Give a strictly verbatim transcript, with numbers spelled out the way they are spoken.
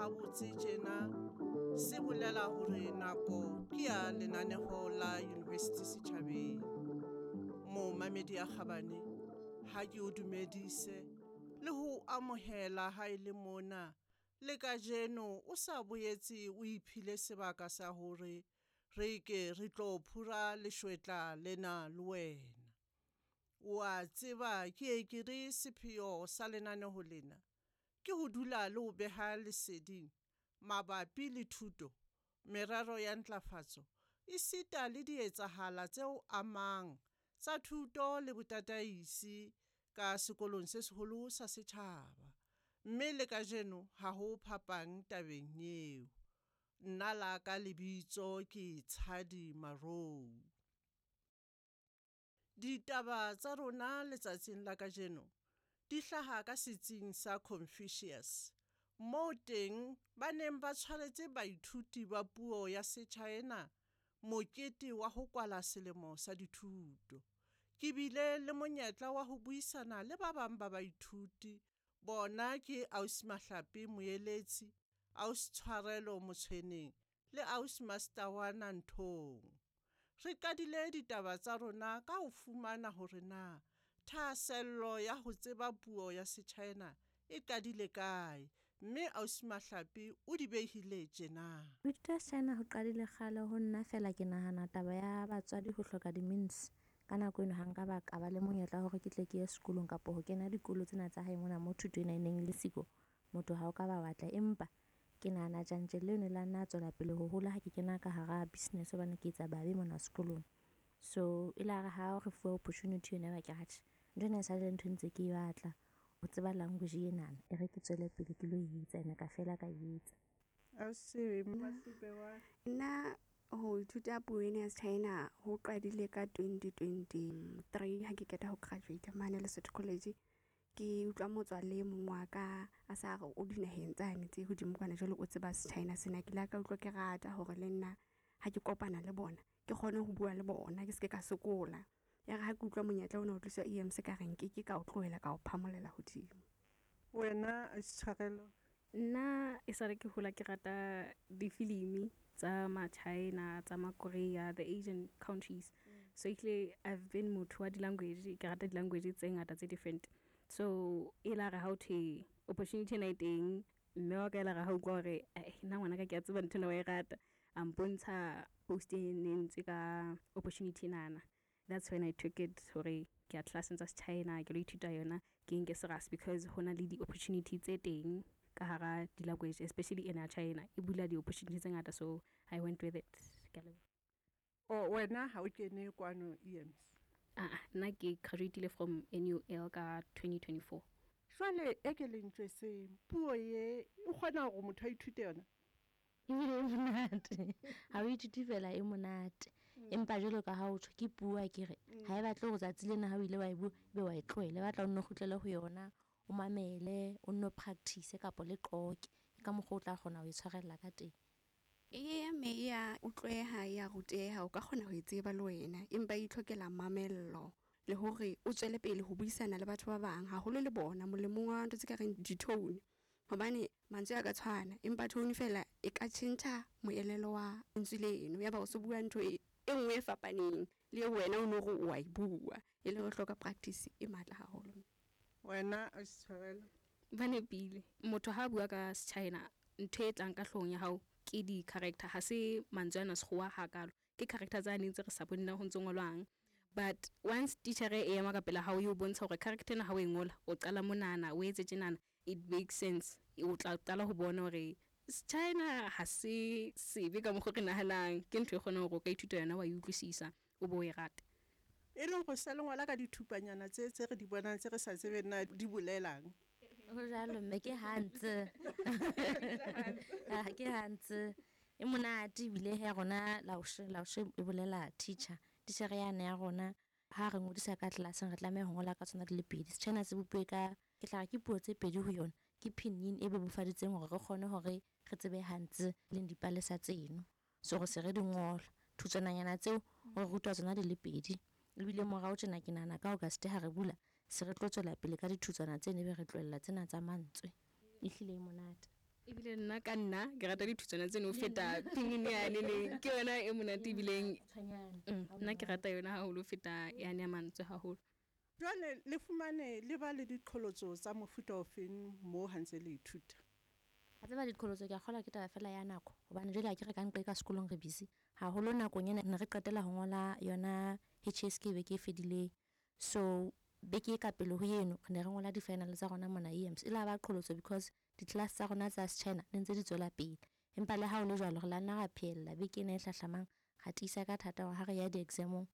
habotse tjena se bolela hore nako ke ya lenaneho la University Setjhabeng. Momamedi ya kgabane, ha ke o dumedise le ho amohela ha e le mona le kajeno o sa boetse o iphile sebaka sa hore re ke re tlo phura leshwetla lena le wena. O a tseba ke ye ke re sepheo sa lenaneho lena ke ho dula le ho beha leseding mabapi le thuto, merero ya ntlafatso, esita le dietsahala tseo amang tsa thuto le botataisi ka sekolong se seholo sa setjhaba. Mme le kajeno ha ho phapang tabeng eo. Nna la ka lebitso ke Tshadi Marou. Ditaba tsa rona letsatsing la kajeno di hlaha ka setsing sa Confucius, moo teng ba neng ba tshwaretse baithuti ba puo ya Sechina mokete wa ho kwala selemo sa dithuto. Ke bile le monyetla wa ho buisana le ba bang ba baithuti, bona ke Ausi Mahlape Moeletsi, Ausi Tshwarelo Motshweneng le Ausi Mastawana Nthong. Re qadile ditaba tsa rona ka ho fumana hore na thahasello ya ho tseba puo ya Sechina e qadile kae, mme Ausi Mahlape o di behile tjena. Ho ithuta Sechina ho qadile kgale ho nna fela ke nahana taba ya batswadi ho hloka di-means. Ka nako eno ha nka ba ka ba le monyetla wa hore ke tle ke ye sekolong kapa ho kena dikolo tsena tsa hae mona mo thuto ena e neng le siko, motho ha o ka ba batla. Empa ke nahana tjantjello eno la nna tswela pele ho hola ha ke kena ka hara business hobane ke etsa babe mona sekolong. So e la re ha re fuwa opportunity ena ba ke re atjhe, ntho ena e sa le ntho e ntse ke e batla ho tseba language enana, e re ke tswele pele ke lo e etsa ene ka fela ka e etsa. Ausi Masipe wa Nna ho ithuta puo ena ya Sechina ho qadile ka twenty twenty-three ha ke qeta ho graduate mane Lesotho College. Ke utlwa motswalle e mong wa ka a sa re o dinaheng tsane tse hodimo kwana, jwale o tseba Sechina sena. Ke la ka utlwa ke rata hore le nna ha ke kopana le bona ke kgone ho bua le bona, ke se ke ka sokola. Ya re ha ke utlwa monyetla ona o tliswa E M C ka re nke ke ka o tlohela ka o phamolela hodimo. Wena Ausi Tshwarelo? Nna e sale ke hola ke rata difilimi tsa ma-China, tsa ma-Korea, the Asian countries. Mm. So ehlile I've been motho wa di-language, ke rata di-language tse ngata tse different. So e la re ha ho thwe opportunity ena e teng, mme wa ka e la re ha utlwa hore, eh, nna ngwanaka ke a tseba ntho ena wa e rata, a mpontsha post e ne entswe ka opportunity enana. That's when I took it hore ke ya classeng tsa Sechina, ke lo ithuta yona, ke nke serious because ho na le di-opportunity tse teng ka hara di-language, especially ena ya China, e bula di-opportunity tse ngata, so I went with it. Ke a leboha. Oh, wena ha o kene kwano E M C? Ah, nna ke graduate-ile from N U L ka twenty twenty-four. Jwale e ke le ntjwetseng, puo e o kgona hore motho a ithute yona? Ebile e monate. Ha o ithute fela e monate. Mm. Empa jwalo ka ha o tjho ke puo a ke re, Mm. ha e batle hore tsatsi lena ha o ile wa e bua, ebe wa e tlohela. E batla o nno kgutlele ho yona, o mamele, o nno practice kapa le qoke. Ke ka mokgwa o tla kgona ho e tshwarella ka teng. Eya, mme e ya utlweha, e ya ruteha, o ka kgona ho e tseba le wena, empa e itlhokela mamello le hore o tswele pele ho buisana le batho ba bang, haholo le bona molemong wa ntho tse ka reng di-tone. Hobane mantswe a ka tshwana, empa tone fela e ka tjhentjha moelelo wa lentswe leno, ya ba o so bua ntho e, e nngwe e fapaneng le eo wena o no re o a e bua, e le ho hloka practice e matla haholo. Wena Ausi Tshwarelo? Ba nepile. Motho ha bua ka Sechina, ntho e tlang ka hloohong ya hao ke di-character, ha se mantswe ana sekgowa hakalo, ke character tsa neng tse re sa boneng ho ntso ngolwang. But once teacher e ema ka pela hao e o bontsha hore character ena ha o e ngola, o qala monana, o etse tjenana, it makes sense. O tla qala ho bona hore Sechina ha se sebe ka mokgo re nahanang, ke ntho e kgonang hore o ka ithuta yona wa e utlwisisa, o bo o e rate. E leng hore se le ngola ka dithupanyana tse, tse re di bonang tse re sa tsebeng na di bolelang. Ho jwalo mme, ke hantse. Ah, ke hantse. E monate ebile ya rona laoshe, laoshe e bolela teacher. Teacher yane ya rona ha re ngodisa ka classeng re tlameha ho ngola ka tsona di le pedi. Sechina se bopuwe ka, ke tla re ke puo tse pedi ho yona. Ke pinyin e bebofaditseng hore re kgone hore re tsebe hantse leng dipalesa tseno. So re se re di ngola. Thutswananyana tseo re rutwa tsona di le pedi. Ebile morao tjena ke nahana ka August ha re bula, se re tlo tswela pele ka dithutswana tseno ebe re tlohella tsena tsa mantswe. Ehlile e monate. Ebile nna ka nna ke rata dithutswana tseno ho feta pinyin yane ne ke yona e monate ebileng. Mm, nna ke rata yona haholo ho feta yane ya mantswe haholo. Jwale le fumane le ba le diqholotso tsa mofuta ofeng moo ha ntse le ithuta? A tseba diqholotso ke a kgolwa ke taba fela ya nako, hobane jwale ha ke re ka nqe ka sekolong re busy haholo. Nakong ena ne re qetela ho ngola yona H S K beke e fedileng, so beke e ka pele ho eno re ne re ngola di-final tsa rona mona E M S. E la ba qholotso because di-class tsa rona tsa China ne ntse di tswela pele, empa le ha ho le jwalo re la nna ra phehella. Beke ena e hlahlamang ra tiisa ka thata hore ha re ya di-exam-ong.